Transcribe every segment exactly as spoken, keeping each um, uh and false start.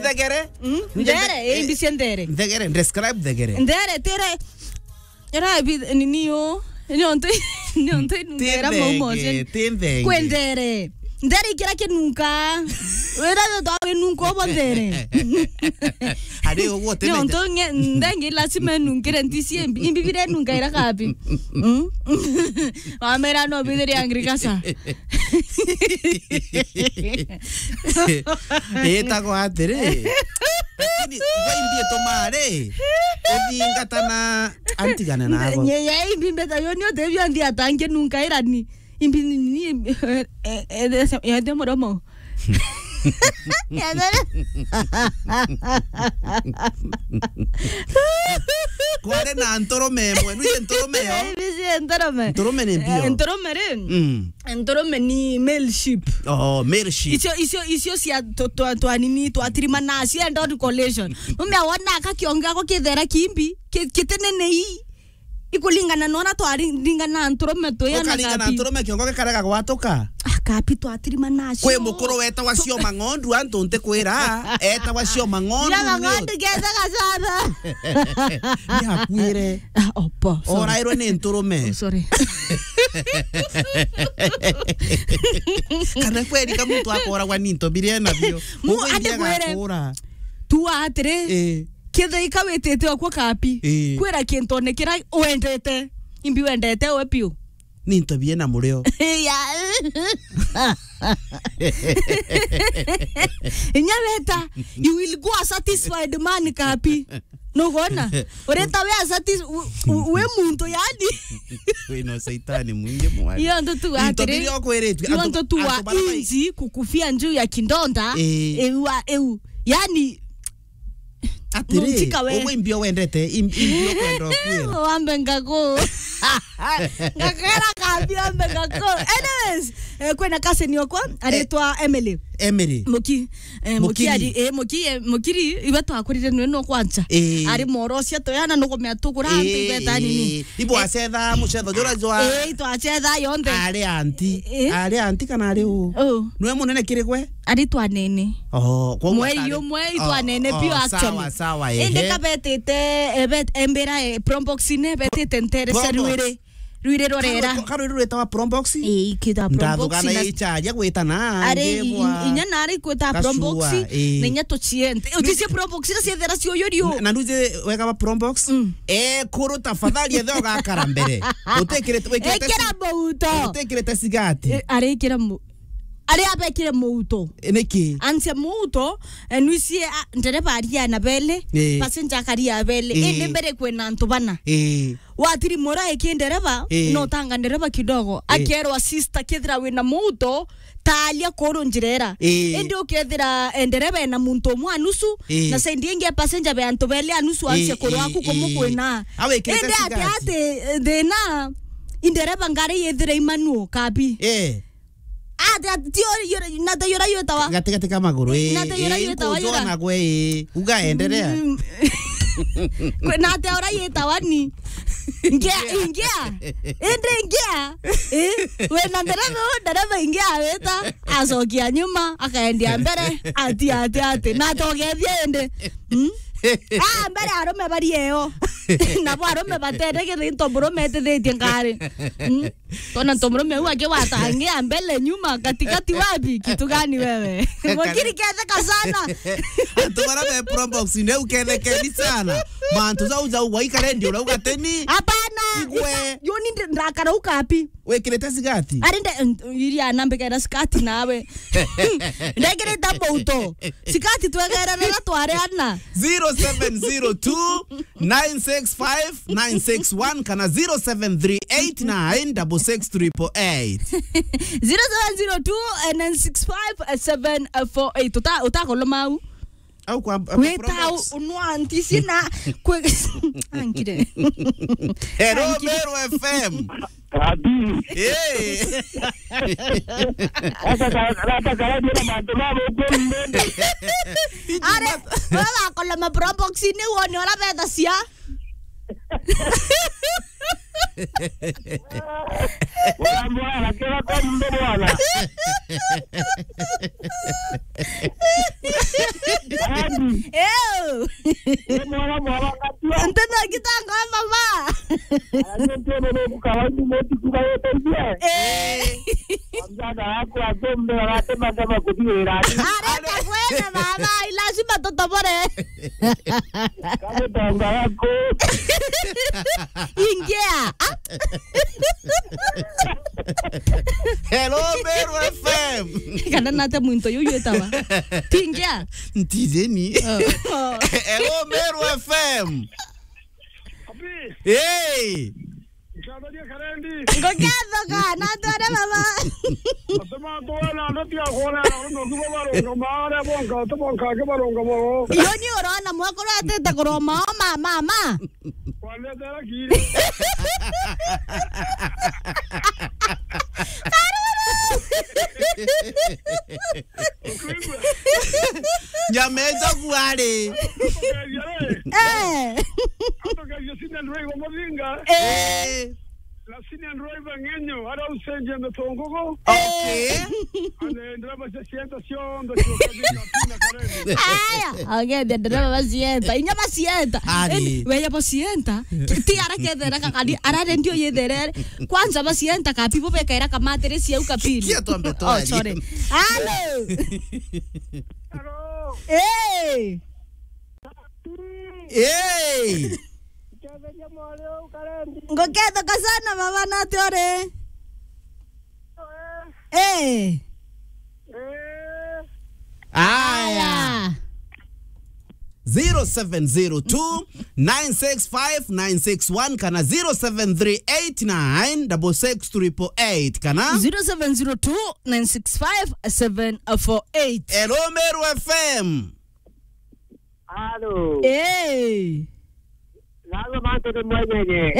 Nthegere? Mm? Nje Nthere, nde-, eh, imbi cia nthere. Nthegere, describe nthegere. Nthere, tere, era bi-, nini yo? Ni ontu, ni ontu inungera maumo cio. Ti nthenge. Kwe nthere. Nthere ikira kinunka. Wira yo twa winunka obo nthere. Ari uguo ti nthenge. Ni ontu nge-, nthenge lazima inungire ntisi imbi. Imbi bire nunka ira kabi. Mm? Wamera no bithiri agriculture. Itagwa atiri. Lakini, igo imbi ituma ri, uthingata na antigane nago. Nye, ye imbi mbeta yo ni utebio nthi atange nunka irani. Imbi ni, ni, eh, eh, eh, eh, eh, muromo. Kwari na nturume imwe, nu ii nturume yo? Imbi ii nturume. Nturume ni mbio. Eh, nturume ri? Mm. Nturume ni male sheep. Oh, male sheep. Icio, icio, icio cia tu-, twa, twa nini, twa tirimana, cia endori collation. Mume awona aka kiongo gako kithera kimbi, ki-, kitinene ii. Ikulingana na uria twaringana na nturume tuya na kapi. Ukaringana na nturume kiongo gikarega gwatuka. Ah, kapi twatirimana cio. Kwi mukuru wetagwa Cioma Ng'ondu, antu ntikwira, etagwa Cioma Ng'ondu. Cioma Ng'ondu, kethega sana. Ni akuire. Ah, opo, sorry. Orairwe ni nturume. Oh, sorry. Kana kweri ka muntu akoragwa ni into biria nabio. Mu-, uguo ati india kwere. Gakura. Tu atiri. Eh. Kethira ika witite okwo kapi. Eh. Kwira kintu one kira wendete. Imbi wendete we piu. Ni into biena murio. Ya. Inya weta, you will go a satisfied man kapi. Nugona? Ureta we a satis-, u-, u-, we muntu yani. Wina saitani mwingi mwari. Iyo ntu tu atiri. Into biria okwiritwe. Iyo antu, ntu tu antu bara mai- inzi kukufia njuu ya kidonda. Eh. Eu, eu. Yani, atiri, nuntika we. Uguo imbio wendete, im-, imbio kwenda kwira. Wambe ngaku. Ngakera kabi wambe ngaku. Anyways, eh, kwina cousin okwa, aritwa Emily. Emily. Muki, eh, Muki Mukiri. Ari, eh, Muki, eh, Mukiri, iwe twakurire nwe no kwanza. Eh. Ari morosia toyana no kumea tugura antu ibeta nini. Eh. Ibo acetha mucetho jura jwa. Eh, itwacetha yonthe. Ari anti. Eh. Ari anti kana ari u? Oh. Nwe munene kiri gwe? Ari twanene. Oh, kwa mweri umwe itwanene, oh, biu actually. Sawa, sawa, ehe. Indi kabetite, eh, bet-, embira, eh, Probox ne betite ntere cia Probox. Rwiri. Rwiri rorera. Karo, karo rwitawa Probox? Eh, ikita Probox. Ndathugana na icharia gwitana, ari ngibwa. I-, inya nari kwita Probox, eh. Na inya tuchiente. Utisie Probox na ciethera cio yorio. Na, na nuje wega wa Probox? Mm. Eh, kuru tafadhali ethe ugakara mbere. Utekirite, wikirite. Ekira si-, mouto. Utekirite sigati. Eh, ari ikira mu-, Ari abekire muuto. E, niki? Ansia muuto, e, nwisie, a, ndereba aria na bele, e, passenger akaria bele. E. Indi mbere kwina antu bana. E. Watiri mora eki ndereba, e, no tanga ndereba kidogo. E. Akerwa, "Sister, kethira wina muuto, taria kuru njira ira." E. Indi ukethira, e, ndereba ena muntu umwe a nusu, e, na side ingi ya passenger be antu bele a nusu, e, ansia kuru, e, aku, e, kumukwina. Awe ikirite sigati. Indi ati, ati, e, thina, i ndereba ngari yithire imanuo kabi. E. Ati, ati, ti uri, uri, na ta yura yutawa. Gati, gati ka maguru, ii. Na ta yura yutawa, yura. Kujona gwe, ii. Uga endelea. Mm. Kwe, na ta ura yutawa ni. Ngia, ngia. Indi ngia. Eh, we na ndereva, ndereva ngia wita. Acokia nyuma, akaendia mbere. Ati, ati, ati. Na ta ugethia indi. Mm? Ah, mbere arume bari eo. Nabo arume batete githinto murume etithitie ngari. Mm? Tona nto murume u akiwatangia mbele, nyuma, katikati, wapi? Kitu gani wewe? Mukiri ketheka sana. Antu bara be Probox ne ukethekeni sana. Mantu jau jau waikare ndio urauga teni. Hapana. Igwe. Yo ni ndi-, ndakara ukapi. Wikirite sigati? Ari nde-, iria nambikira sigati nawe. Ndekirite mbuto. Sikati twegererera twari ana. Zero seven zero two, nine six five, nine six one kana zero seven three eight nine six six triple eight. Zero seven zero two, nine six five, seven four eight. Uta-, utakoloma au. Au kwa, kwa weta Probox. Unwa ntisi na kwe-, angire. Hello, angire. Meru F M. Ati. Eh. Ata ka-, ata karadia na mantu ma gukuru mbende. Are, wewe wakoloma Probox ni wone ora betha cia. Bwana, bwana, kila kwa mbe bwana. Ati. Ew. Ni mwana mwana ngatua. Ntino kitanga mama. Ayo ndio ndio kukawa ni moti kuba yote. Eh. Mjana wako atombe wate madama kubiera. Areka kwenda mama, lazima tutobore. Kamutonga wako. Ingia. Ah. Hello, Meru F M. Kana nate muntu yu yetawa. Tingia. Ntijeni. Oh. Hello, Meru F M. Abi. Hey. Nkabaria Karendi. Ngokethoka, na tware baba. Atema tuwe na ndo tia kuona na ndo kibo baronga mare bonka, atema bonka ke baronga boro. Iyo ni urona mwakuru atete kuroma ma, ma, ma. Kwandetera kiri. Nyameja kuari. Eh. Atokagia sina ndwai wa mavinga. Eh. Na sina ndwai wa ngenyo, ara usenje metongogo. Okay. Anaendelea basi sienta siondo, sio kabisa, pina Karendi. Aya, okay, ndereba bacienta. Inya bacienta. Ari. Eni, weya bacienta. Ti ara kethera kakari, ara rendio yetherere. Kwanza bacienta kapi bo bekaira kamatiri ciau kapiri. Kia twambe. Oh, twari. Sorry. Hello. Hello. Hey. Hey. Nketheria mwari u Karendi. Ngokethoka sana baba, na ati uri? Eh. Eh. Aya. Aya. Zero seven zero two, nine six five, nine six one kana zero seven three eight nine six six triple eight kana zero seven zero two, nine six five, seven four eight. Hello, Meru F M. Alo. Eh. Nago mantu ni mwenyenye.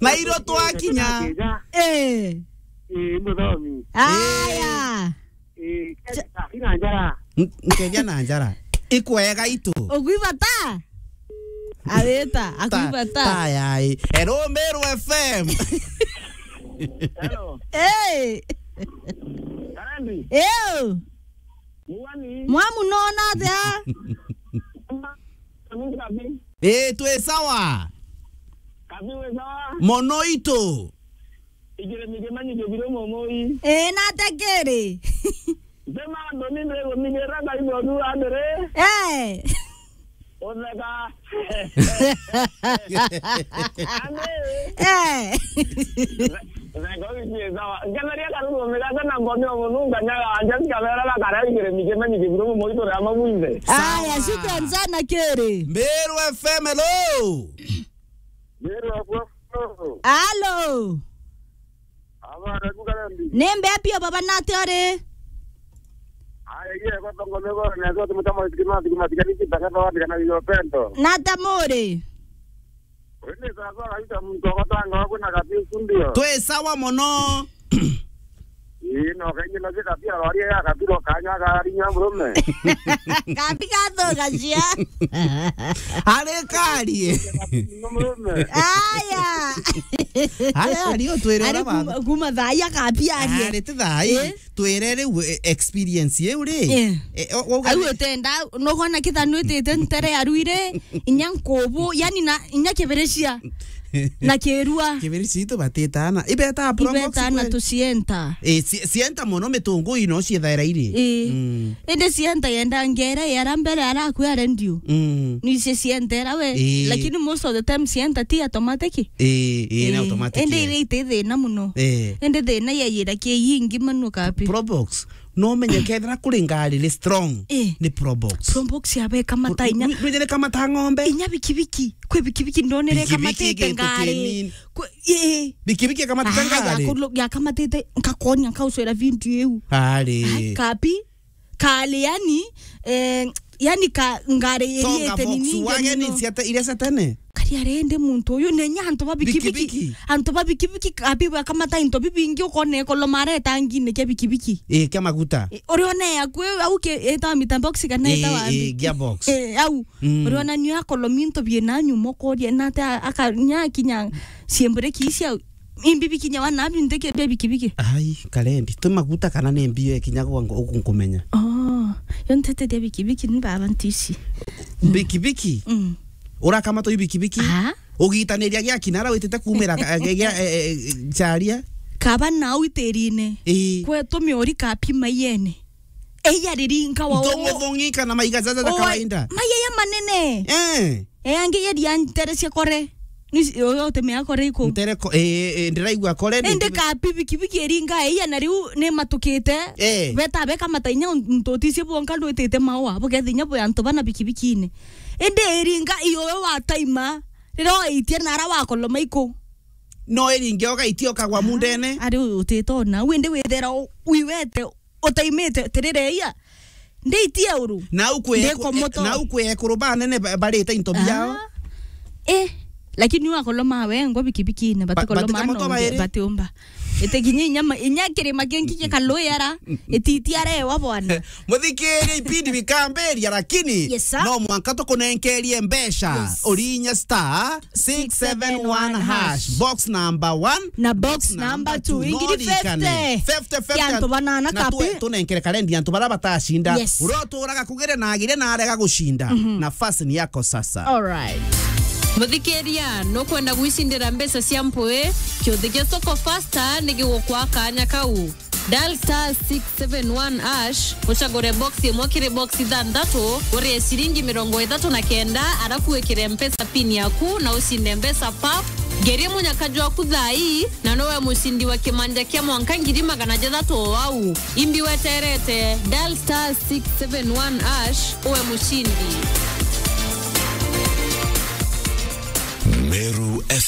Na iro twakinya. Eh. Eh, muthomi. Aya. Eh, kina njara. N-, nkeja na njara. Ikwega itu. Ugwibata? Awita, ta, akwibata. Ta yai. Hello, Meru F M. Hello. Hey. Karendi. Ew. Mwani. Mwamu nona atia? Kabi. Eh, twi sawa. Kabi we sawa? Mono itu. Igire mige manyi ge biro momoi. Eh, na atia kiri? Ndema ndo ni ndego mige ra ngai modu andere. Eh. Utheka. Ame. Eh. Theka wiki sawa. Ngetheria karugo migate na ngomi o mununga nyaga anja cikabera bakara igire mige manyi ge biro momoi tore ama bwinthe. Aya, sawa. Shukran sana kiri. Meru F M, hello. Meru F M. Hello. Abana kukarendi. Ni mbea pio baba, na atia uri? Aya, iye kwa tongo mego na kwa tumutama sikima sikima sikani kitaka kwa wana na yo pento. Na atia muri? Wende sasa kabisa mtu akotanga wako na kabisa ndio. Twi sawa mono. Ii, no, kaingi na zika pia rwaria ya kabiro kanya karinya murume. Kabi gathugacia. Ari karie. Murume. Aya. Ari ari o twirira. Ari baba. Kuma, kuma thaa ya kabi arie. Ari ti thaa ii. Eh? Twire riu, eh, experience iu ri. Eh. Eh, o-, o-, au utenda, no gona kitha nwitite ntere ya ruire, inya nkubu, yani na, inya kiberecia. Na kirua. Kibiri citu batitana. Ibeta probox. Ibetana kweli. Tucienta. Eh, ci-, cienta mono mitungu ino ciethaira iri. Eh. Mm. Indi cienta yenda ngera yara mbere ara akua rendio. Mm. Ni cie cienta era we. Eh. Lakini most of the time cienta ti automatic. Eh, eh, ni automatic. Indi iri iti thina muno. Eh. Indi thina ya yira ki yingi manu kapi. Probox. No menye kethira kuri ngari ri strong, eh, ni Probox. Probox ya beka mata inya. Ndu-, ndu-, ndu-, kamata ng'ombe. Inya bikibiki, kwi bikibiki ndonere kamatite ngari. Kwi, eh. Bikibiki kamatite ngari. Ya kamatite, nkakonia, nkaucwera video iu. Ari. Ai, kapi, kali yani, eh, yani ka ngari iri ete nini. Tonga Volkswagen nini, cia te-, iria cia tene. Kari arende muntu uyu nenya antu ba bikibiki. Bikibiki. Antu ba bikibiki kabi bakamata into bibingi ukona ekolo mareta ngine kia bikibiki. Eh, kia maguta. Eh, uriona ya kwe au ke eta mita box kana eta wa. Eh, eh, gearbox. Eh, au. Mm. Uriona nio akolo minto biena nyuma ukoria na ata akanya kinya siembure kisia imbibi kinya wana abi ndeke bia bikibiki. Ai, karendi. Tu maguta kana ne mbio kinya kwa ngo-, ukunkumenya. Oh. Yo nteteria bikibiki ni baba ntici. Bikibiki? Mm. Urakamatwa i bikibiki? Aha. Ugitaniria gia kinara witite kumira ka-, gia, eh, eh, charia? Kaba nau itirine. Ii. Kwetu miori kapi maiyene. Eya riringa wa Ntongo thongi kana maiga zaza za Oe, kawaida. Maiyaya manene. Eh. E, angi yeria ntere cia kore. Ni ci-, uyu utemea kore iku. Ntere ko-, eh, eh, ndiraigua kore ni Indi ka bibikibiki iringa eia na riu ni matukite. Eh. Beta beka matainya ntuticie bwonka ndwitite maua. Bukethinya bwi antu bana bikibikine. Indi iringa iyo we wataima. Riria waitie nara wakoloma iku. No iringe ogaitie okagwa mundene. Ari utitona. Windi withera u-, wiwete utaimite tirire ia. Ndiitie uru. Nau kwi eku-, Ndikomoto. Nau kwi ekuru banene ba-, barite into biao. Ah. Eh, lakini wakoloma wengwa bikibikine, Ba-, batikoloma batikomotwa nonge, bairi? Batiumba. Ite kinya inya ma-, inya kirima kingi gikaluyara, ititiarewa bwana. Muthikirie ipindi bikambiria, lakini Yes, sir. no mwanka tukunenkerie mbeca. Yes. Urinya star six seven one hash. Box number one. Na box number two. Ingiri fifty. Fifty, fifty. Ya antu banana Na kapi. twe-, tunenkere karendi antu bara batacinda. Yes. Uria uturaga kugire na agire na arega gucinda. Mhm. Nafasi ni yako sasa. All right. Muthikiria, nukwenda gwicindira mbeca cia mpui? Kiuthi gia Soko Fasta ni gigukwa kanya kau. Dial star six seven one hash, ucagure box imwe kiri box ithanthatu, urie ciringi mirongo ithatu na kenda, arafu wikire Mpesa pin yaku na ucinde mbeca pap. Ngerie munyaka jwaku thaa ii, na nowe mucindi wa kimanja kia mwanka ngiri magana jathatu o au. Imbi weterete, dial star six seven one hash, uwe mucindi. Meru